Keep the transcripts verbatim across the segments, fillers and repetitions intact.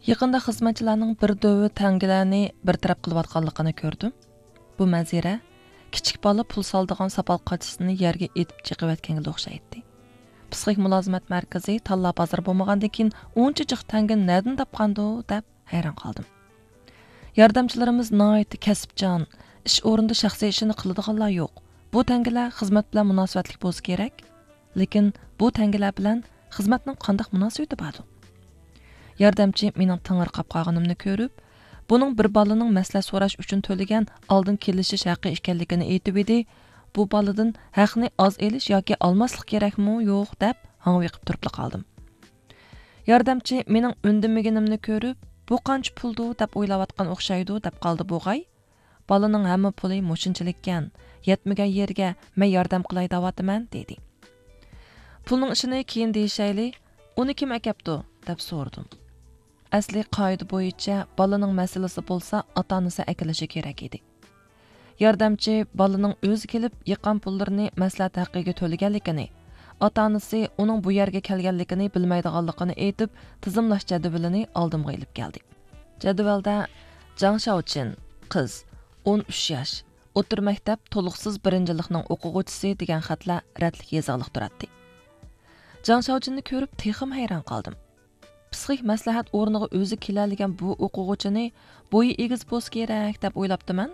يېقىندا خىزمەتچىلەرنىڭ بىر دۆۋە تەڭگىلەرنى بىر تەرەپ قىلىۋاتقانلىقىنى كۆردۈم. بۇ مەنزىرە كىچىك بالا پۇل سالىدىغان ساپال قاچىسىنى يەرگە ئېتىپ چېقىۋەتكەنگە ئوخشايتتى. پسىخىك مۇلازىمەت مەركىزى تاللا بازىرى بولمىغاندىن كېيىن ئۇنچە جىق تەڭگىنى نەدىن تاپقاندۇ دەپ ھەيران قالدىم. ياردەمچىلىرىمىز ناھايىتى كەسىپچان، ئىش ئورنىدا شەخسىي ئىشىنى قىلىدىغانلار يوق. بۇ تەڭگىلەر خىزمەت بىلەن مۇناسىۋەتلىك بولسا كېرەك. لېكىن بۇ تەڭگىلەر بىلەن خىزمەتنىڭ قانداق مۇناسىۋىتى باردۇ؟ ياردەمچى مېنىڭ تېڭىرقاپ قالغىنىمنى كۆرۈپ، بۇنىڭ بىر بالىنىڭ مەسلىھەت سوراش ئۈچۈن تۆلىگەن ئالدىن كېلىشىش ھەققى ئىكەنلىكىنى ئېيتىۋىدى، بۇ بالىدىن ھەقنى ئاز ئېلىش ياكى ئالماسلىق كېرەكمۇ يوق دەپ ھاڭۋېقىپ تۇرۇپلا قالدىم. ياردەمچى مېنىڭ ئۈندىمىگىنىمنى كۆرۈپ، بۇ قانچە پۇلدۇ دەپ ئويلاۋاتقان ئوخشايدۇ دەپ قالدى بوغاي. بالىنىڭ ھەممە پۇلى مۇشۇنچىلىككەن، يەتمىگەن يېرىگە مەن ياردەم قىلاي دەۋاتىمەن، دېدى. پۇلنىڭ ئىشىنى كېيىن دېيىشەيلى، ئۇنى كىم ئەكەپتۇ؟ دەپ سورىدىم. ئەسلى قائىدە بويىچە بالىنىڭ مەسىلىسى بولسا ئاتا-ئانىسى ئەكېلىشى كېرەك ئىدى. ياردەمچى بالىنىڭ ئۆزى كېلىپ يىغقان پۇللىرىنى مەسلىھەت ھەققىگە تۆلىگەنلىكىنى، ئاتا-ئانىسى ئۇنىڭ بۇ يەرگە كەلگەنلىكىنى بىلمەيدىغانلىقىنى ئېيتىپ، تىزىملاش جەدۋىلىنى ئالدىمغا ئېلىپ كەلدى. جەدۋەلدە جاڭ شاۋچىن، قىز، ئون ئۈچ ياش، ئوتتۇرا مەكتەپ تولۇقسىز بىرىنچىلىقنىڭ ئوقۇغۇچىسى دېگەن خەتلەر رەتلىك يېزىقلىق تۇراتتى. جاڭ شاۋچىننى كۆرۈپ تېخىمۇ ھەيران قالدىم. پسىخىك مەسلىھەت ئورنىغا ئۆزى كېلەلىگەن بۇ ئوقۇغۇچىنى بويى ئېگىز بولسا كېرەك دەپ ئويلاپتىمەن.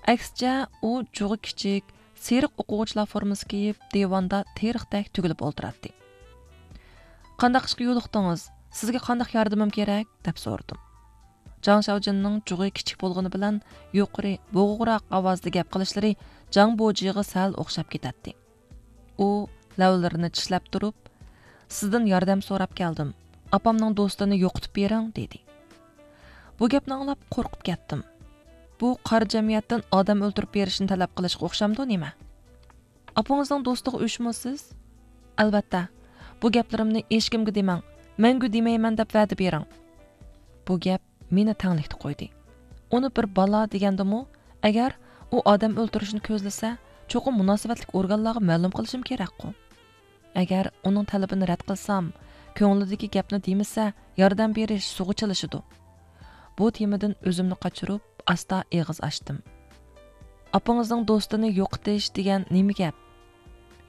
ئەكسىچە، ئۇ جۇغى كىچىك، سېرىق ئوقۇغۇچىلار فورمىسى كىيىپ، دىۋاندا تېرىقتەك تۈگۈلۈپ ئولتۇراتتى. «قانداق ئىشقا يولۇقتىڭىز؟ سىزگە قانداق ياردىمىم كېرەك؟» دەپ سورىدىم. جاڭ شاۋجىننىڭ جۇغى كىچىك بولغىنى بىلەن يۇقىرى، بوغۇقراق ئاۋازدا گەپ قىلىشلىرى جاڭ بوجىغا سەل ئوخشاپ كېتەتتى. ئۇ لەۋلىرىنى چىشلەپ تۇرۇپ، «سىزدىن ياردەم سوراپ كەلدىم. ئاپامنىڭ دوستىنى يوقىتىپ بېرىڭ» دېدى. بۇ گەپنى ئاڭلاپ قورقۇپ كەتتىم. بۇ قارا جەمئىيەتتىن ئادەم ئۆلتۈرۈپ بېرىشنى تەلەپ قىلىشقا ئوخشامدۇ نېمە؟ «ئاپىڭىزنىڭ دوستىغا ئۆچمۇ سىز؟» «ئەلۋەتتە. بۇ گەپلىرىمنى ھېچكىمگە دېمەڭ. مەڭگۈ دېمەيمەن دەپ ۋەدە بېرىڭ.» بۇ گەپ مېنى تەڭلىكتە قويدى. ئۇنى بىر بالا دېگەندىمۇ، ئەگەر ئۇ ئادەم ئۆلتۈرۈشنى كۆزلىسە، چوقۇم مۇناسىۋەتلىك ئورگانلارغا مەلۇم قىلىشىم كېرەكقۇ. ئەگەر ئۇنىڭ تەلىپىنى رەت قىلسام، كۆڭلىدىكى گەپنى دېمىسە، ياردەم بېرىش سۇغا چىلىشىدۇ. بۇ تېمىدىن ئۆزۈمنى قاچۇرۇپ، ئاستا ئېغىز ئاچتىم. «ئاپىڭىزنىڭ دوستىنى يوقىتىش دېگەن نېمە گەپ؟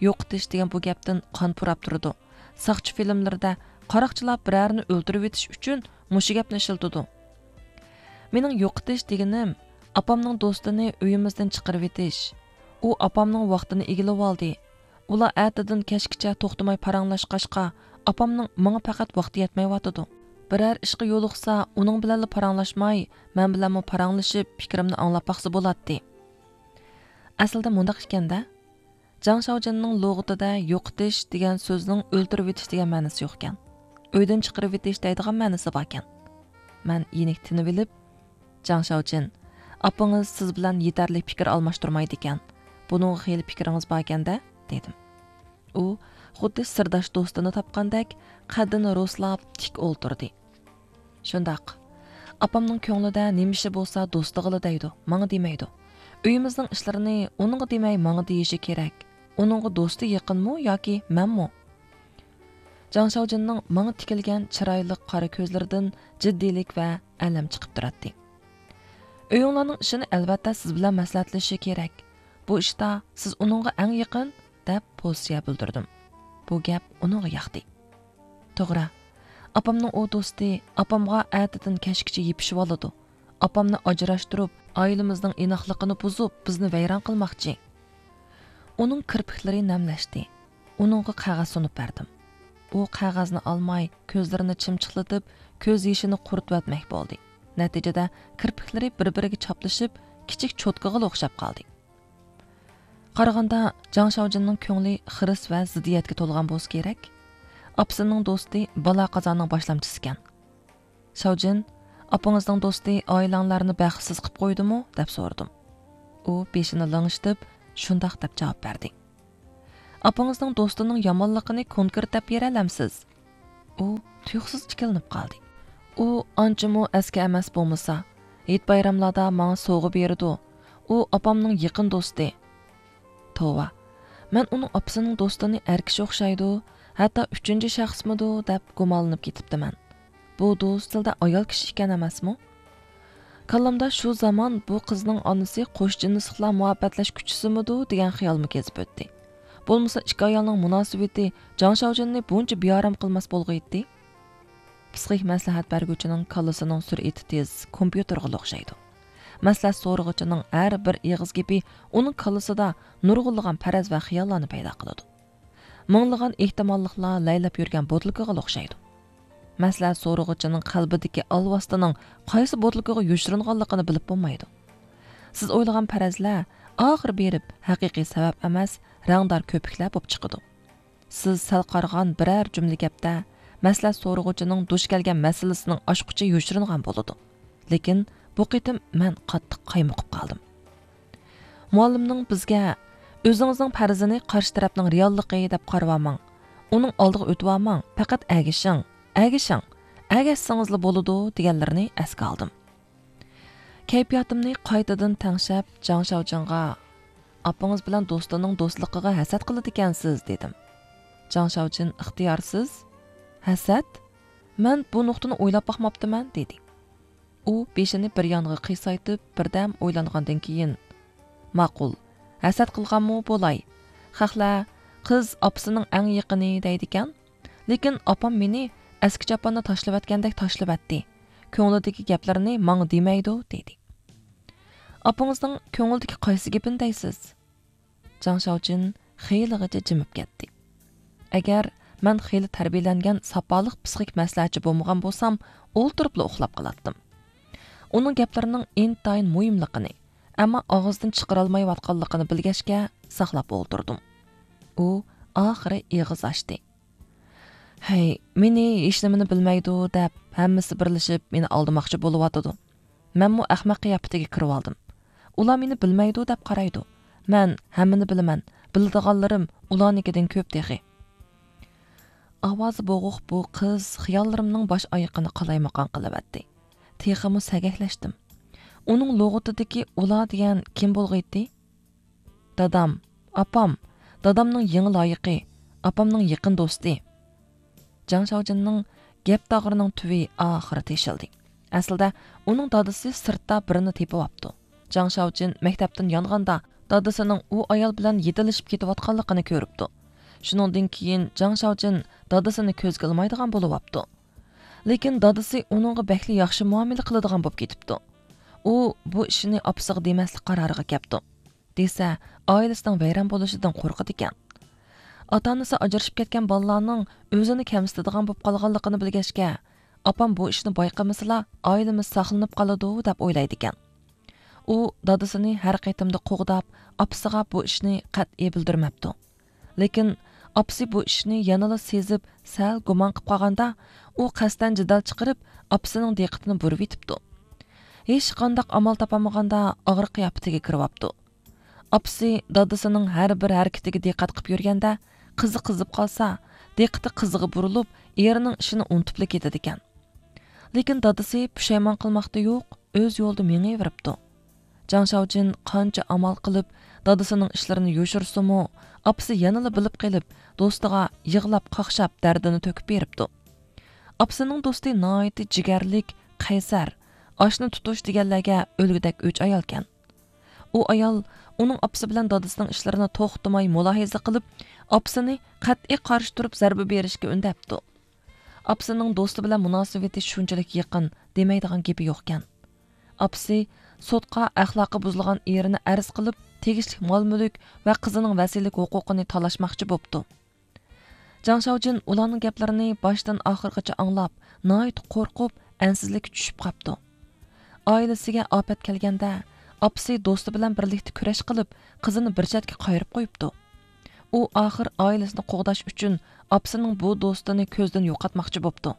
يوقىتىش دېگەن بۇ گەپتىن قان پۇراپ تۇرىدۇ. ساقچى فىلىملىرىدە قاراقچىلار بىرەرىنى ئۆلتۈرۈۋېتىش ئۈچۈن مۇشۇ گەپنى ئىشلىتىدۇ. مېنىڭ يوقىتىش دېگىنىم، ئاپامنىڭ دوستىنى ئۆيىمىزدىن چىقىرىۋېتىش. ئۇ ئاپامنىڭ ۋاقتىنى ئىگىلىۋالدى. ئۇلار ئەتىدىن كەچكىچە توختىماي پاراڭلاشقاچقا، ئاپامنىڭ ماڭا پەقەت ۋاقتى يەتمەيۋاتىدۇ. بىرەر ئىشقا يولۇقسا، ئۇنىڭ بىلەنلا پاراڭلاشماي، مەن بىلەنمۇ پاراڭلىشىپ، پىكرىمنى ئاڭلاپ باقسا بولاتتى.» ئەسلىدە مۇنداق ئىكەن-دە. جاڭ شاۋجىننىڭ لۇغىتىدا يوقىتىش دېگەن سۆزنىڭ ئۆلتۈرۈۋېتىش دېگەن مەنىسى يوقكەن. ئۆيدىن چىقىرىۋېتىش دەيدىغان مەنىسى باركەن. مەن يېنىك تىنىۋېلىپ، «جاڭ شاۋجىن، ئاپىڭىز سىز بىلەن يېتەرلىك پىكىر ئالماشتۇرمايدىكەن. بۇنىڭغا خېلى پىكرىڭىز باركەن-دە؟» دېدىم. ئۇ خۇددى سىرداش دوستىنى تاپقاندەك قەددىنى رۇسلاپ تىك ئولتۇردى. «شۇنداق. ئاپامنىڭ كۆڭلىدە نېمە ئىشى بولسا دوستىغىلا دەيدۇ، ماڭا دېمەيدۇ. ئۆيىمىزنىڭ ئىشلىرىنى ئۇنىڭغا دېمەي ماڭا دېيىشى كېرەك. ئۇنىڭغا دوستى يېقىنمۇ ياكى مەنمۇ؟» جاڭ شاۋجىننىڭ ماڭا تىكىلگەن چىرايلىق قارا كۆزلىرىدىن جىددىيلىك ۋە ئەلەم چىقىپ تۇراتتى. «ئۆيۈڭلارنىڭ ئىشىنى ئەلۋەتتە سىز بىلەن مەسلىھەتلىشىشى كېرەك. بۇ ئىشتا سىز ئۇنىڭغا ئەڭ يېقىن» دەپ پوزىتسىيە بىلدۈردۈم. بۇ گەپ ئۇنىڭغا ياقتى. «توغرا، ئاپامنىڭ ئۇ دوستى ئاپامغا ئەتىدىن كەچكىچە يېپىشىۋالىدۇ. ئاپامنى ئاجراشتۇرۇپ، ئائىلىمىزنىڭ ئىناقلىقىنى بۇزۇپ، بىزنى ۋەيران قىلماقچى.» ئۇنىڭ كىرپىكلىرى نەملەشتى. ئۇنىڭغا قەغەز سۇنۇپ بەردىم. ئۇ قەغەزنى ئالماي، كۆزلىرىنى چىمچىقلىتىپ، كۆز يېشىنى قۇرۇتۇۋەتمەك بولدى. نەتىجىدە كىرپىكلىرى بىر-بىرىگە چاپلىشىپ، كىچىك چوتكىغىلا ئوخشاپ قالدى. قارىغاندا، جاڭ شاۋجىننىڭ كۆڭلى خىرىس ۋە زىددىيەتكە تولغان بولسا كېرەك. ئاپىسىنىڭ دوستى بالا قازانىڭ باشلامچىسىكەن. «شاۋجىن، ئاپىڭىزنىڭ دوستى ئائىلەڭلارنى بەختسىز قىپ قويدىمۇ؟» دەپ سورىدىم. ئۇ بېشىنى لىڭشىتىپ، «شۇنداق» دەپ جاۋاب بەردى. «ئاپىڭىزنىڭ دوستىنىڭ يامانلىقىنى كونكرېت دەپ بېرەلەمسىز؟» ئۇ تۇيۇقسىز ئىككىلىنىپ قالدى. «ئۇ ئانچىمۇ ئەسكى ئەمەس بولمىسا، ھېيت-بايراملاردا ماڭا سوۋغا بېرىدۇ. ئۇ ئاپامنىڭ يېقىن دوستى.» توۋا، مەن ئۇنىڭ ئاپىسىنىڭ دوستىنى ئەر كىشى ئوخشايدۇ، ھەتتا ئۈچىنچى شەخسمىدۇ دەپ گۇمانلىنىپ كېتىپتىمەن. بۇ دوستىلدا ئايال كىشى ئىكەن ئەمەسمۇ؟ كاللامدا شۇ زامان بۇ قىزنىڭ ئانىسى قوش جىنسلىقلار مۇھەببەتلەش كۈچىسىمىدۇ دېگەن خىيالمۇ كېزىپ ئۆتتى. بولمىسا ئىككى ئايالنىڭ مۇناسىۋىتى جاڭ شاۋجىننى بۇنچە بىئارام قىلماس بولغىيتتى. پسىخىك مەسلىھەت بەرگۈچىنىڭ كاللىسىنىڭ سۈرئىتى تېز، كومپيۇتېرغىلا ئوخشايدۇ. مەسلىھەت سورىغۇچىنىڭ ھەر بىر ئېغىز گېپى ئۇنىڭ كاللىسىدا نۇرغۇنلىغان پەرەز ۋە خىياللارنى پەيدا قىلىدۇ. مىڭلىغان ئېھتىماللىقلار لەيلەپ يۈرگەن بوتۇلكىغىلا ئوخشايدۇ. مەسىلە سورىغۇچىنىڭ قەلبىدىكى ئالۋاستىنىڭ قايسى بوتۇلكىغا يوشۇرۇنغانلىقىنى بىلىپ بولمايدۇ. سىز ئويلىغان پەرەزلەر ئاخىرى بېرىپ ھەقىقىي سەۋەب ئەمەس، رەڭدار كۆپۈكلەر بولۇپ چىقىدۇ. سىز سەل قارىغان بىرەر جۈملە گەپتە مەسىلە سورىغۇچىنىڭ دۇچ كەلگەن مەسىلىسىنىڭ ئاچقۇچى يوشۇرۇنغان بولىدۇ. لېكىن بۇ قېتىم مەن قاتتىق قايمۇقۇپ قالدىم. مۇئەللىمنىڭ بىزگە «ئۆزىڭىزنىڭ پەرىزىنى قارشى تەرەپنىڭ رېئاللىقى دەپ قارىۋالماڭ، ئۇنىڭ ئالدىغا ئۆتۈۋالماڭ، پەقەت ئەگىشىڭ، ئەگىشىڭ، ئەگەشسىڭىزلا بولىدۇ» دېگەنلىرىنى ئەسكە ئالدىم. كەيپىياتىمنى قايتىدىن تەڭشەپ، جاڭ شاۋجىنغا «ئاپىڭىز بىلەن دوستىنىڭ دوستلۇقىغا ھەسەت قىلىدىكەنسىز» دېدىم. جاڭ شاۋجىن ئىختىيارسىز «ھەسەت؟ مەن بۇ نۇقتىنى ئويلاپ باقماپتىمەن» دېدى. ئۇ بېشىنى بىر يانغا قىيسايتىپ، بىردەم ئويلانغاندىن كېيىن، ماقۇل، ھەسەت قىلغانمۇ بولاي. خەقلەر «قىز ئاپىسىنىڭ ئەڭ يېقىنى» دەيدىكەن. لېكىن ئاپام مېنى ئەسكى چاپاننى تاشلىۋەتكەندەك تاشلىۋەتتى. كۆڭلىدىكى گەپلىرىنى ماڭا دېمەيدۇ، دېدى. ئاپىڭىزنىڭ كۆڭلىدىكى قايسى گېپىنى دەيسىز؟ جاڭ شاۋجىن خېلىغىچە جىمىپ كەتتى. ئەگەر مەن خېلى تەربىيەلەنگەن ساپالىق پسىخىك مەسلىھەتچى بولمىغان بولسام، ئولتۇرۇپلا ئۇخلاپ قالاتتىم. ئۇنىڭ گەپلىرىنىڭ ئىنتايىن مۇھىملىقىنى، ئەمما ئاغزىدىن چىقىرالمايۋاتقانلىقىنى بىلگەچكە، ساقلاپ ئولتۇردۇم. ئۇ ئاخىرى ئېغىز ئاچتى. «ھەي، مېنى ھېچنېمىنى بىلمەيدۇ دەپ، ھەممىسى بىرلىشىپ مېنى ئالدىماقچى بولۇۋاتىدۇ. مەنمۇ ئەخمەق قىياپىتىگە كىرىۋالدىم. ئۇلار مېنى بىلمەيدۇ دەپ قارايدۇ. مەن ھەممىنى بىلىمەن، بىلىدىغانلىرىم ئۇلارنىڭكىدىن كۆپ تېخى.» ئاۋازى بوغۇق بۇ قىز خىياللىرىمنىڭ باش ئايىقىنى قالايمىقان قىلىۋەتتى. تېخىمۇ سەگەكلەشتىم. ئۇنىڭ لۇغىتىدىكى «ئۇلار» دېگەن كىم بولغىيتتى؟ دادام، ئاپام، دادامنىڭ يېڭى لايىقى، ئاپامنىڭ يېقىن دوستى. جاڭ شاۋجىننىڭ گەپ تاغىرىنىڭ تۈۋى ئاخىرى تېشىلدى. ئەسلىدە ئۇنىڭ دادىسى سىرتتا بىرىنى تېپىۋاپتۇ. جاڭ شاۋجىن مەكتەپتىن يانغاندا دادىسىنىڭ ئۇ ئايال بىلەن يېتىلىشىپ كېتىۋاتقانلىقىنى كۆرۈپتۇ. شۇنىڭدىن كېيىن جاڭ شاۋجىن دادىسىنى كۆزگە ئىلمايدىغان بولۇۋاپتۇ. لېكىن دادىسى ئۇنىڭغا بەكلا ياخشى مۇئامىلە قىلىدىغان بولۇپ كېتىپتۇ. ئۇ بۇ ئىشنى ئاپىسىغا دېمەسلىك قارارىغا كەپتۇ. دېسە، ئائىلىسىنىڭ ۋەيران بولۇشىدىن قورقىدىكەن. ئاتا-ئانىسى ئاجرىشىپ كەتكەن بالىلارنىڭ ئۆزىنى كەمسىتىدىغان بولۇپ قالغانلىقىنى بىلگەچكە، ئاپام بۇ ئىشنى بايقىمىسىلا، ئائىلىمىز ساقلىنىپ قالىدۇ، دەپ ئويلايدىكەن. ئۇ دادىسىنى ھەر قېتىمدا قوغداپ، ئاپىسىغا بۇ ئىشنى قەتئىي بىلدۈرمەپتۇ. لېكىن ئاپىسى بۇ ئىشنى يەنىلا سېزىپ، سەل گۇمان قىلىپ قالغاندا، ئۇ قەستەن جېدەل چىقىرىپ، ئاپىسىنىڭ دىققىتىنى بۇرىۋېتىپتۇ. ھېچقانداق ئامال تاپالمىغاندا، ئاغرىق قىياپىتىگە كىرىۋاپتۇ. ئاپىسى دادىسىنىڭ ھەر بىر ھەرىكىتىگە دىققەت قىلىپ يۈرگەندە، قىزى قىزىپ قالسا، دىققىتى قىزىغا بۇرۇلۇپ، ئېرىنىڭ ئىشىنى ئۇنتۇپلا كېتىدىكەن. لېكىن دادىسى پۇشايمان قىلماقتا يوق، ئۆز يولىدا مېڭىۋېرىپتۇ. جاڭ شاۋجىن قانچە ئامال قىلىپ، دادىسىنىڭ ئىشلىرىنى يوشۇرسىمۇ، ئاپىسى يەنىلا بىلىپ قېلىپ، دوستىغا يىغلاپ، قاقشاپ، دەردىنى تۆكۈپ بېرىپتۇ. ئاپىسىنىڭ دوستى ناھايىتى جىگەرلىك، قەيسەر، ئاشنا تۇتۇش دېگەنلەرگە ئۆلگۈدەك ئۆچ ئايالكەن. ئۇ ئايال ئۇنىڭ ئاپىسى بىلەن دادىسىنىڭ ئىشلىرىنى توختىماي مۇلاھىزە قىلىپ، ئاپىسىنى قەتئىي قارشى تۇرۇپ زەربە بېرىشكە ئۈندەپتۇ. ئاپىسىنىڭ دوستى بىلەن مۇناسىۋىتى شۇنچىلىك يېقىن، دېمەيدىغان گېپى يوقكەن. ئاپىسى سوتقا ئەخلاقى بۇزۇلغان ئېرىنى ئەرز قىلىپ، تېگىشلىك مال-مۈلۈك ۋە قىزىنىڭ ۋەسىيلىك ھوقۇقىنى تالاشماقچى بوپتۇ. جاڭ شاۋجىن ئۇلارنىڭ گەپلىرىنى باشتىن ئاخىرغىچە ئاڭلاپ، ناھايىتى قورقۇپ، ئەنسىزلىككە چۈشۈپ قاپتۇ. ئائىلىسىگە ئاپەت كەلگەندە، ئاپىسى دوستى بىلەن بىرلىكتە كۈرەش قىلىپ، قىزىنى بىر چەتكە قايرىپ قويۇپتۇ. ئۇ ئاخىر ئائىلىسىنى قوغداش ئۈچۈن ئاپىسىنىڭ بۇ دوستىنى كۆزدىن يوقاتماقچى بوپتۇ.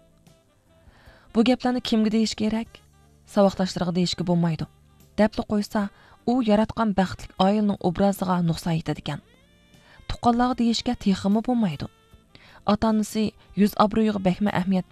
بۇ گەپلەرنى كىمگە دېيىش كېرەك؟ ساۋاقداشلىرىغا دېيىشكە بولمايدۇ. دەپلا قويسا، ئۇ ياراتقان بەختلىك ئائىلىنىڭ ئوبرازىغا نۇقسان يېتىدىكەن. تۇغقانلارغا دېيىشكە تېخىمۇ بولمايدۇ. ئاتا-ئانىسى يۈز ئابرۇيىغا بەكمۇ ئەھمىيەت